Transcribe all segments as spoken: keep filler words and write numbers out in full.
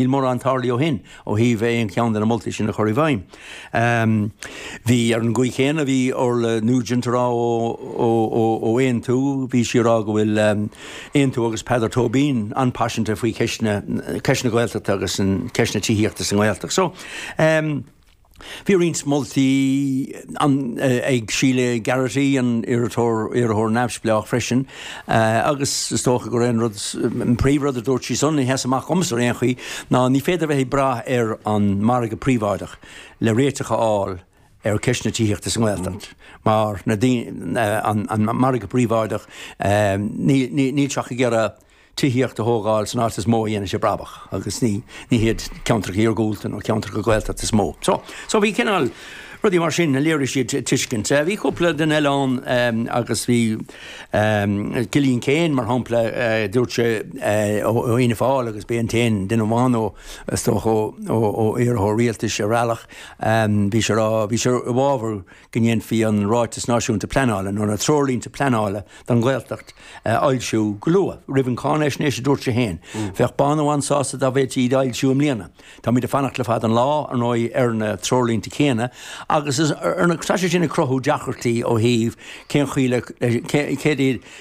Níl mórán tarlaithe ó shin ó thaobh aon cheann de na moltaí sin a chur i bhfeidhm. Um, bhí ar an gcaoi chéanna bhí Orla Nugent ag rá ó, ó, ó, ó Aontú, bhí sí ag rá go bhfuil um, Aontú agus Peadar Tóibín an-phaiseanta faoi cheist na ceist na Gaeltachta agus an ceist na tithíochta sa nGaeltacht. So, um, Bhí roinnt moltaí ag Síle Garrity an iarrthóir iarrthóir neamhspleách freisin agus is dócha gur an rud an príomhrud a dúirt sí san a sheas amach domsa ar aon chaoi ná ní féidir bheith ag brath ar an margadh príobháideach le réiteach a fháil ar cheist na tithíochta sa nGaeltacht mar na an, an margadh príobháideach níl sé ag iarraidh tithíocht a thógáil san áit is mó a dhéanann sé brabach agus ní ní hiad ceantracha iargúlta nó ceantracha Gaeltachta is mó. So, so bhí cineál rudaí mar sin a léirigh siad tuiscint. Bhí cúpla duine eile ann agus bhí um, Killian Kane mar shampla uh, dúirt sé uh, ó Fhianna Fáil agus b'é an t-aon duine amháin ó ó ó iarrthóir rialtais ar bhealach um, bhí sé rá bhí sé i bhfabhar go ndéanfaí an ráiteas náisiúnta pleanála nó na treoirlínte pleanála don Ghaeltacht a fhoilsiú go luath roimh an cháinaisnéis a dúirt sé féin. Mm. Bheadh Bono an-sásta dá bhféadfaí iad a fhoilsiú i mbliana. Táimid ag fanacht le fada an lá ar ndóigh ar na treoirlínte céanna agus tá sé sin ag cruthú deacrachtaí ó thaobh cén chaoi le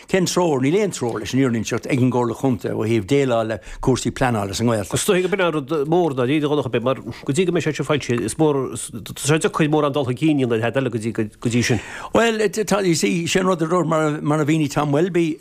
cén treoir níl aon treoir leis an fhírinne ag an gComhairle Chontae ó thaobh déileáil le cúrsaí pleanála sa nGaeltacht. Is dóigh go b'in rud mór ná ní go mar go dtí go mbeidh sé seo foilsithe is mór sé chuid mór an dul chun cinn eile go dtí go dtí sin. Well tá sin rud mar mar a mhínigh Tom Welby